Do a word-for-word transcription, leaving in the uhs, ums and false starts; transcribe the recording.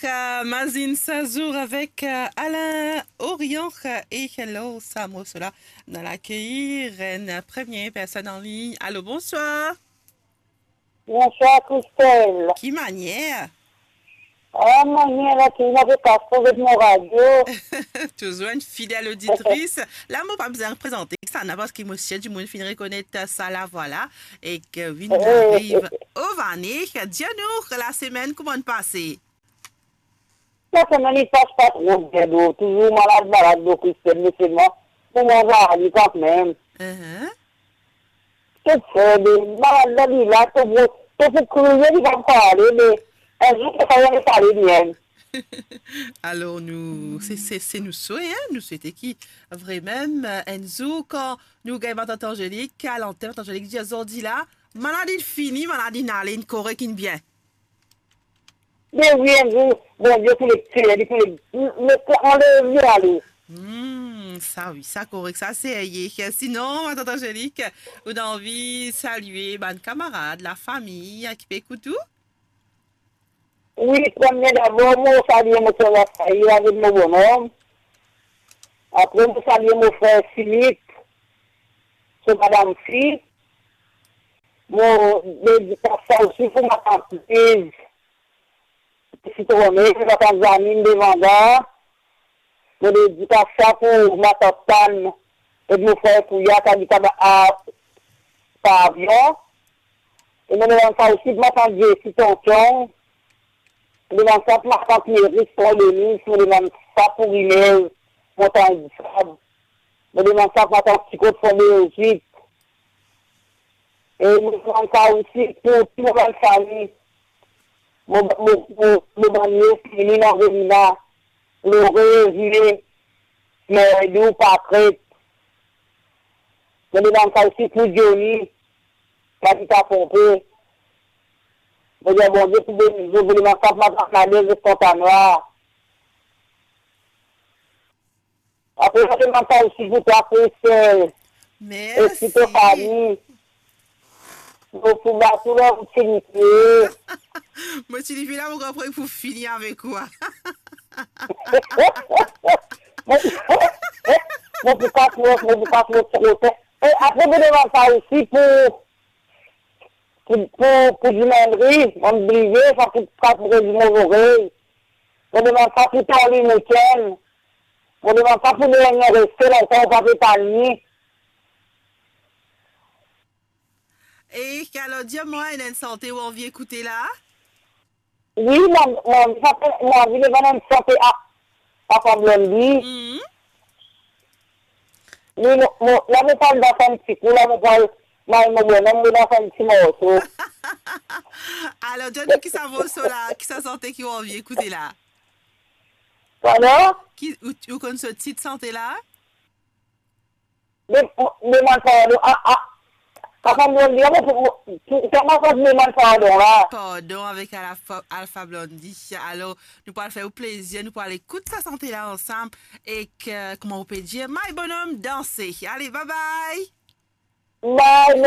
Euh, Mazin Sazour avek, euh, Alain Orion, euh, e lor sa morso la, nou al akeyir enn premie personn an lign. Alo, bonswar. Bonswar, Christelle. Ki manier? Ah, manier la, ki mo pe kas pou get mo radio. Touzour enn fidel oditris. La, mo pa bizin prezante sa, non, parski mo sir dimoun finn rekonet sa lavwa la. Ek wi, nou ariv o vane. Dir nou, lasemenn, kouma'n pase? Lasemenn li pas pa tro bien, do. Touzour malad, malad, do, Christelle, me selman pou mwa, li kanmem. Mhm. Tou fer, be, malad la, li la, to pou, to pou kriye, li pa pale, me enn zour, to kapav pale bien. Alor, nou, se, se, se nou swe, hein, nou swete ki vremem, euh, enn zour, kan nou gagn Matant Angelique, a lantenn, Matant Angelique dir, zordi la, malad inn fini, malad inn ale, inn korek, inn bien. Me wi, enn zour, Bondie pou le tir, li pou le, le, anlev li ale. Hmm, sa wi, sa korek, sa serye. Sinon, Matant Angelique, ou ena anvi salie bann kamarad, lafami, ki pe ekout ou? Wi, premie dabor, mo salie mo ser Rafael avek mo bonom. Apre, mo salie mo frer Philippe, so madam fi. Mo dedikas sa osi pou matant Liz, Sitrone, matant Janine, Devanda. Mo dedikas sa pou matant Tan ek mo frer Pouya, ki abit a, a Pavion. E mo demann sa osi pou matant Jessie, Tonton. Mo demann sa pou matant Meris, Pont Denis. Mo demann sa pou Rinez, Montagn Disab. Mo demann sa pou matant Tikot, Fondé Ozit. E mo demann sa osi pou tou mo bann fami. Mo, mo, mo, mo bann nies, Lili, Angelina, Lore, Zile, Merdou, Pakret. Mo demann sa osi pou Johnny, ki abit a Ponpe. Mo dir Bondie pou beni zot. Mo demann sa pou matant Nadège, Pointe-à-Noir. Apre, mo demann sa osi pou twa, Christelle. Mersi. E pou to fami. Mo pou bat ou la, ou ti lipe. Mo ti lipe la, mo konpran pou fini avek ou. Mo, mo pou pa tro, mo pou pa tro, tro, tro. E apre, mo demann sa osi pou, pou, pou, pou dimann ri, mo bliye, sa pou, sa pou redi mo zorey. Mo demann sa pou Tony Mouken. Mo demann sa pou Daniel, reste lontan, ou pa pe tann li. E alor, dir mwa, ena enn sante ou anvi ekoute la? Wi, mo, mo anvi sante, mo anvi demann enn sante a, a Papa Blondy. Mhm. Wi, mo, mo, la mo pral dans enn ti kou, la mo pral, mo, mo, mo, mo dans enn ti morso. Alor, dir nou ki sa morso la, ki sa sante ki ou anvi ekoute la? Pardon? Ki, ou, ou konn so tit sante la? De, demann pardon. A, a, Papa Blondy, mo pou, pou, pou, kouma sa demann pardon la? Pardon avek Alpha, Alpha Blondy. Alor, nou pou al fer ou plezir, nou pou al ekout sa sante la ansam. Ek, kouma ou pe dir, my bonom, danse. Ale, bye bye. Bye,